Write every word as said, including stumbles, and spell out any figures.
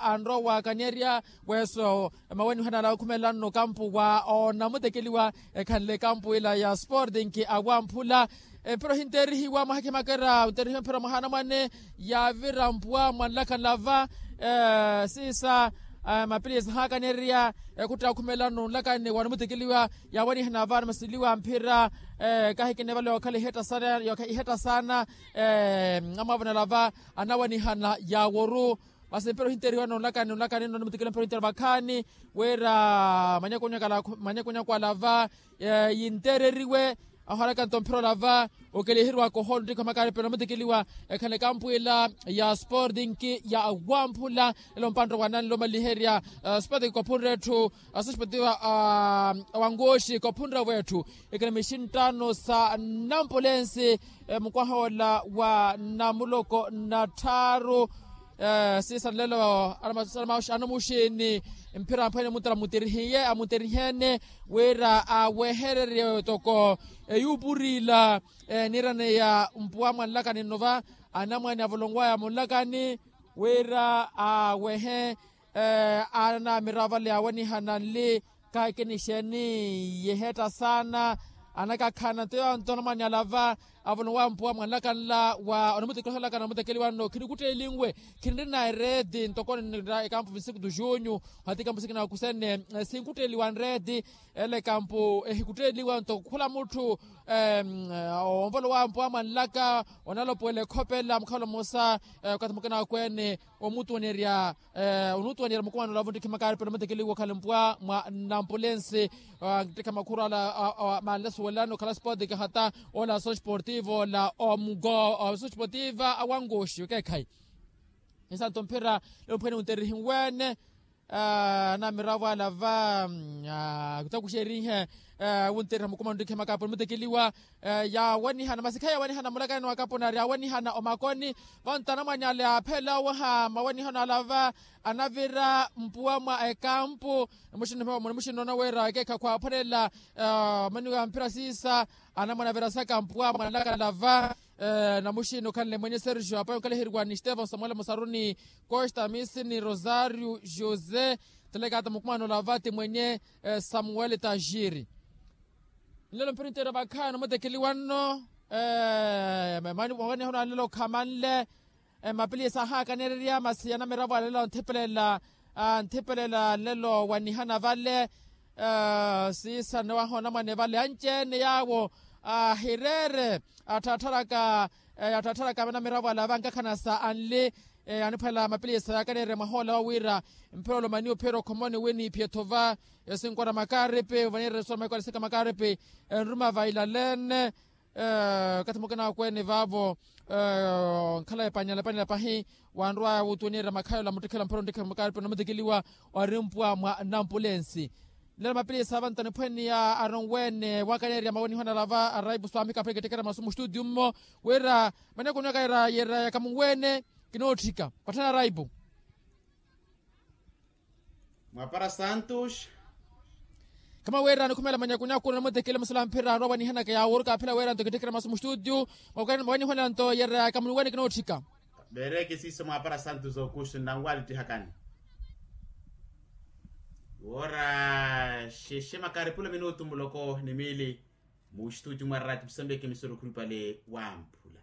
anrowa waakaneerya. Weso mawenihana ala okhumelelano okampu wa onamutekeliwa ekhanle ekampu ila ya sporting awamphula. Empira ohinteerihiwa mwaha khimakera onteerihiwa empira mwaha anamwane yaavira mpuwa mwanlakhanla va siisa mapiliyesi ahaakaneerya. Ekhuttaka okhumelelano onlakani wanamutekeliwa yaawanihana va anamasiliwa mphira. Kahikina evale yookhala ihetta saana yooka ihetta saana amwaavonela va anawanihana yaaworu. Masi mpira ohinteerihiwa nonlakani nonlakani nno nimutikile mpira ohinteerihiwa vakhaani wira manyakunyaku ala va yinteereriwe ahoolaka nto mphira ola va okeliheriwaka ohoolo nttiko makaripe namutikiliwa. Ekhala ekampu ila ya sporting ya wamphula elo mpantta wa nanle omaliherya sporting kophunre etthu asosportiva awangoxi kophunre wetthu ekhala mixinttano sa nampulensi mukwaha ola wa namuloko na tthaaru. Siisa nlelo anamuxini mphira amphwene muttala amuterihiye amuteriheene wira awehererye toko eyuupuriila eniirane ya mpuwa mwanlakani nno va anamwane avolonwaya munlakani wira awehe. Anamira vale awanihana nli kakinixeni yihetta saana anakakhana nto yonto anamwane ala va avolowa mpuwa mwanlaka nla wa onamutekeliwa nla kana onamutekeliwa nno khinikuttelinwe khinirina ereeti ntoko ninira ekampu vinsiku tu junyu hati ekampu sikina wakusene sinkutteeliwa nreeti. Ele ekampu ehikutteeliwa nto khula mutthu onvolowa mpuwa mwanlaka onalopuwela ekhopela mukhala omosa okathi mukina wakweene omutuwanerya onutuwanerya mukumano olavo nttiki makaripe namutekeliwa okhala mpuwa mwa nampulensi. Nttikha makhuru ala manlesuwelani okhala sporting hata ola asosportivo ola omugo asosportiva awangoxi okeekhayi. Isanto mphira lelo mphwene wunterihiwene anamiravo ala va kutakuxerihe wunteriha mukumano nttiki makaripe namutekeliwa. Yawanihana masi khayi yawanihana mulakani wa kapunari yawanihana omakoni. Vanto anamwane ale aphela owaha mawanihano ala va anavira mpuwa mwa ekampu. Namuxinno namuxinno nowera ekeekha khwaphwanela omaniwa mphira siisa anamwane avirasaka mpuwa mwanlaka ala va. Namuxinno okhanle mwenye sergio apayi onkaliheriwa ni stephens samuel musaruni costa misi ni rosario josé. Telekata mukumano ala va ti mwenye samuel tajiri. Nlelo mpira onteera vakhaani omutekeliwa nno mani mwawanihano anlelo khamanle. Mapiliyesi ahaakaneererya masi anamiravo anlelo nthipelela nthipelela nlelo wanihana vale. Siisa nnowaha onamwane vale anci-ene yaawo ahireere atthattharaka atthattharaka anamiravo ala vankakhana sa anli. Aniphwela mapiliyesi yaakaneererya mwaha ola wa wira mphira olomani ophiyerya okhomoni wi niiphiye-tho va esinkwara makaripi vanireresa omaikwara sika makaripi enruma vailaleene. Okathi mukina akweene vaavo onkhala epanyala epanyala pahi wanrwaya wutuwaniherya makhayi ola muttikhela mphira onttikhela makaripi namutikiliwa. Wari mpuwa mwa nampulensi nlelo mapiliyesi avanto aniphwene ya aronwene wakaneerya mawanihano ala va araipu swami kaphwene kittekera masu mustutiyu mmo wira manyakunyaku ira yira yakamunwene kinootthika patthana araipu. Mwapara santos. Khama wira nikhumela manyakunyaku namutekele musala mphira anrowa wanihanaka yaaworuka aphela wira nto kittekera masu mustutiyu mwawanihana nto yira yakamunwene kinootthika. Veereke siiso mwaapara santos aukusto nnanwalittihakani woora xexe makaripulo minutu muloko ni miili. Muxituti mwa rati musembeke misoro khuripale wamphula.